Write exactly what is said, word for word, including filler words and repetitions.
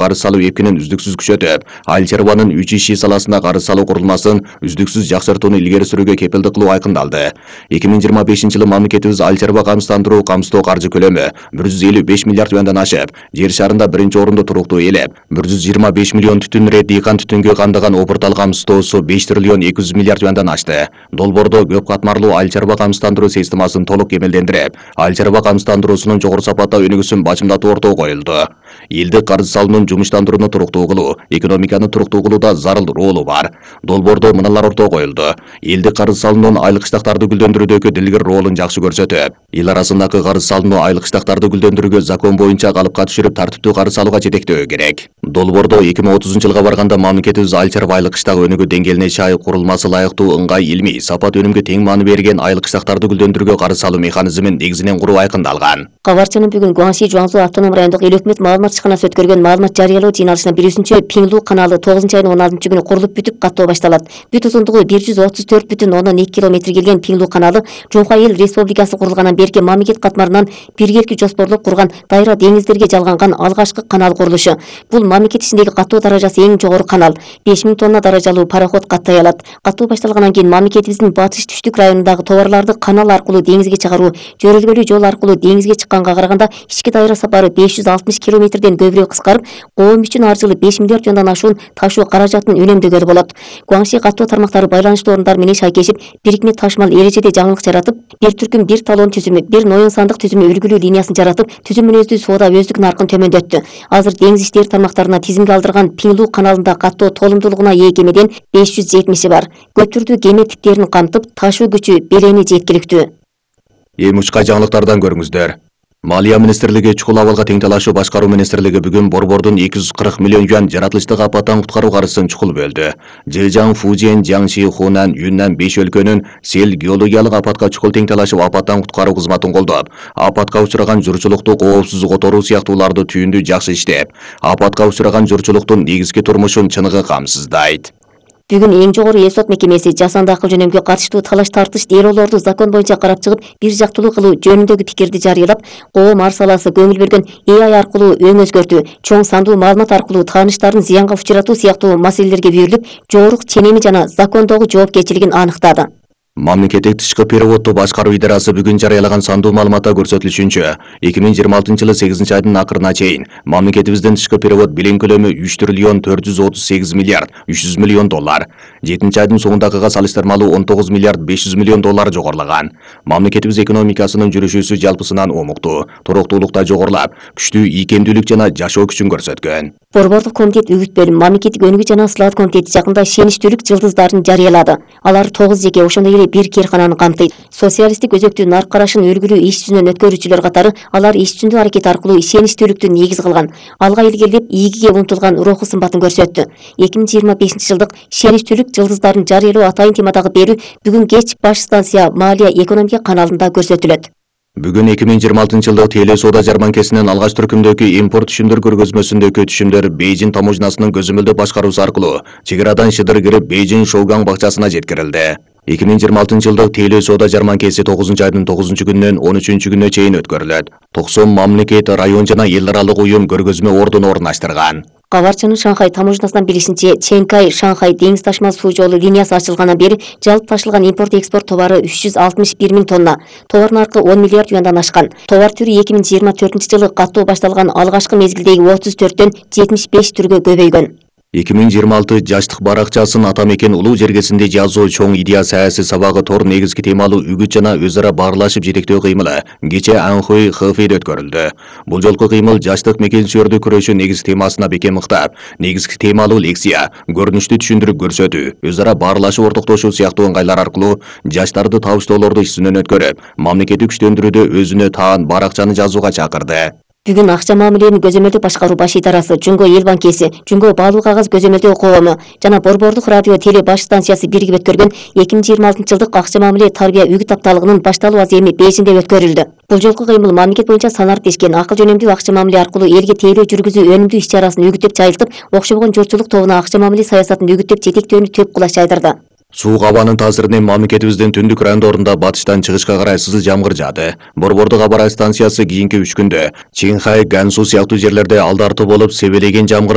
карыз салуу эпкинин үздүксүз күчөтүп, айыл чарбанын үч иши саласында карыз салуу курулмасын үздүксүз жакшыртууну илгери сүрүүгө кепилдик кылуу айкындалды. эки миң жыйырма бешинчи жылы мамлекетибиз айыл чарба камсыздандыруу камсыздоо каржы көлөмү бир жүз элүү беш миллиард юандан ашып, жер шарында биринчи орунду туруктуу ээлеп, бир жүз жыйырма беш миллион түтүн рет дыйкан түтүнгө кандаган опуртал камсыздоосу беш триллион эки жүз миллиард юандан ашты. Долбоордо көп катмарлуу айыл чарба камсыздандыруу системасын толук кемелдендирип, айыл чарба камсыздандыруусунун жогору сапатта өнүгүүсүн бачымдатуу ортого коюлду. Элдик карыз салуунун жумуштандырууну туруктуу кылуу, экономиканы туруктуу кылууда зарыл ролу бар. Долбоордо мыналар ортого коюлду. Элдик карыз салуунун айыл кыштактарды гүлдөндүрүүдөгү дилгир ролун жакшы көрсөтүп, эл арасындагы карыз салууну айыл кыштактарды гүлдөндүрүүгө закон боюнча калыпка түшүрүп тартиптүү карыз салууга жетектөө керек. Долбоордо эки миң отузунчу жылга барганда мамлекетибиз айыл чарба айыл кыштак өнүгүү деңгээлине чай курулмасы лайыктуу ыңгай илмий сапат өнүмгө тең маани берген айыл кыштактарды гүлдөндүрүүгө карыз салуу механизмин негизинен куруу айкындалган. Кабарчынын бүгүн Гуаңши Жуаңсу автоном райондук эл өкмөт маалымат ишканасы өткөргөн маалымат жарыялоо жыйналышына биринчи Пиңлу каналы тогузунчу айдын он алтынчы күнү курулуп бүтүп каттоо башталат. Бүт узундугу бир жүз отуз төрт бүтүн ондон эки километр келген Пиңлу каналы Жумка эл республикасы курулгандан берки мамлекет катмарынан биргелки жоспорлоп курган дайра деңиздерге жалганган алгачкы канал курулушу. Бул мамлекет ичиндеги каттоо даражасы эң жогору канал. беш миң тонна даражалуу пароход каттай алат. Каттоо башталгандан кийин мамлекетибиздин батыш түштүк районундагы товарларды канал аркылуу деңизге чыгаруу жөрөлгөлүү жол аркылуу деңизге чыкканга караганда ички дайра сапары беш жүз алтымыш километрден көбүрөөк кыскарып, коом үчүн ар жылы беш миллиард юандан ашуун ташуу каражатын үнөмдөгөлү болот. Гуаңши каттоо тармактары байланыштуу орундар менен шайкешип, бирикме ташмал эрежеде жаңылык жаратып, бир түркүм бир талон түзүмү, бир ноюн сандык түзүмү үлгүлүү линиясын жаратып, түзүм мүнөздүү соода өздүк наркын төмөндөттү. Азыр деңиз иштери тармактарына тизимге алдырган Пиңлу каналында каттоо толумдуулугуна ээ кемеден беш жүз жетимиши бар. Көп түрдүү кеме типтерин камтып, ташуу күчү белени жеткиликтүү. Эми учка жаңылыктардан көрүңүздөр. Малия министрлиги чукул абалга тең талашуу башкаруу министрлиги бүгүн Борбордун эки жүз кырк миллион юан жаратылыштык апаттан куткаруу каржысын чукул бөлдү. Жэжаң, Фужиэн, Jiangxi, Хунан, Юннан беш өлкөнүн сел геологиялык апатка чукул тең талашып апаттан куткаруу кызматын колдоп, апатка учураган журчулукту коопсуз которуу сыяктууларды түйүндү жакшы иштеп, апатка учураган журчулуктун негизги турмушун чыныгы камсыздайт. Бүгүн эң жогору эл сот мекемеси жасанды акыл жөнөмгө катыштуу талаш тартыш делолорду закон боюнча карап чыгып, бир жактылуу кылуу жөнүндөгү пикирди жарыялап, коом ар саласы көңүл бөлгөн эй ай аркылуу өң өзгөртүү, чоң сандуу маалымат аркылуу тааныштарын зыянга учуратуу сыяктуу маселелерге берилип, жорук ченеми жана закондогу жоопкерчилигин аныктады. Мамлекеттик тышкы переводду башкаруу идарасы бүгүн жарыялаган сандуу маалыматта көрсөтүлүшүнчө, эки миң жыйырма алтынчы жылы сегизинчи айдын акырына чейин мамлекетибиздин тышкы перевод билим көлөмү үч триллион төрт жүз отуз сегиз миллиард үч жүз миллион доллар. жетинчи айдын соңундагыга салыштырмалуу он тогуз миллиард беш жүз миллион доллар жогорулаган. Мамлекетибиз экономикасынын жүрүшүсү жалпысынан омуктуу, туруктуулукта жогорулап, күчтүү ийкемдүүлүк жана жашоо күчүн көрсөткөн. Борбордук комитет үгүт бөлүм мамлекеттик өнүгүү жана сылаат комитети жакында ишеничтүүлүк жылдыздарын жарыялады. Алар тогуз жеке ошондой эле бир кээркананы камтыйт. Социалисттик өзөктүү нарк карашын үлгүлүү иш жүзүнөн өткөрүүчүлөр катары алар иш жүзүндүү аракет аркылуу ишеничтүүлүктү негиз кылган, алга илгерилеп ийгиге умтулган руху сымбатын көрсөттү. эки миң жыйырма бешинчи жылдык ишеничтүүлүк жылдыздарын жарыялоо атайын темадагы берүү бүгүн кеч баш станция Малия экономика каналында көрсөтүлөт. Бүгүн эки миң жыйырма алтынчы жылдык теле соода жарманкесинин алгач түркүмдөгү импорт түшүмдөр көргөзмөсүндөгү түшүмдөр Бейжин таможнасынын көзөмөлдөө башкаруусу аркылуу чек арадан шыдыр кирип Бейжин Шоугаң бакчасына жеткирилди. эки миң жыйырма алтынчы жылдык теле соода жарманкеси тогузунчу айдын тогузунчу күнүнөн он үчүнчү күнүнө чейин өткөрүлөт. токсон мамлекет, район жана эл аралык уюм көргөзмө ордун орундаштырган. Кабарчынын Шанхай таможнасынан билишинче, Ченкай Шанхай деңиз ташмал суу жолу линиясы ачылгандан бери жалпы ташылган импорт-экспорт товары үч жүз алтымыш бир миң тонна, товар наркы он миллиард юандан ашкан. Товар түрү эки миң жыйырма төртүнчү жылы каттоо башталган алгачкы мезгилдеги отуз төрттөн жетимиш беш түргө көбөйгөн. эки миң жыйырма алты жаштык баракчасын ата мекен улуу жергесинде жазуу чоң идея саясий сабагы тор негизги темалуу үгүт жана өз ара баарлашып жетектөө кыймылы кечээ Анхуй Хэфейде өткөрүлдү. Бул жолку кыймыл жаштык мекенсүйөрдүк күрөшүү негизги темасына бекем ыктап, негизги темалуу лекция, көрүнүштү түшүндүрүп көрсөтүү, өз ара баарлашып ортоктошуу сыяктуу ыңгайлар аркылуу жаштарды табыштоолорду иш жүзүнөн өткөрүп, мамлекеттик күчтөндүрүүдө өзүнө таан баракчаны жазууга чакырды. Бүгүн акча мамилелерин көзөмөлдөө башкаруу баш идарасы, Жунго эл банкеси, Жунго баалуу кагаз көзөмөлдөө коому жана Борбордук радио теле баш станциясы биригип өткөргөн эки миң жыйырма алтынчы жылдык акча мамиле тарбия үгүт апталыгынын башталуу аземи Бейжиңде өткөрүлдү. Бул жолку кыймыл мамлекет боюнча санариптешкен акыл жөнөмдүү акча мамиле аркылуу элге тейлөө жүргүзүү өнүмдүү иш чарасын үгүттөп жайылтып, окшобогон журтчулук тобуна акча мамиле саясатын үгүттөп жетектөөнү төп кулаш жайдырды. Суук абанын таасиринен мамлекетибиздин түндүк райондорунда батыштан чыгышка карай сызыл жамгыр жаады. Борбордук аба станциясы кийинки үч күндө Чинхай, Гансу сыяктуу жерлерде алды арты болуп себелеген жамгыр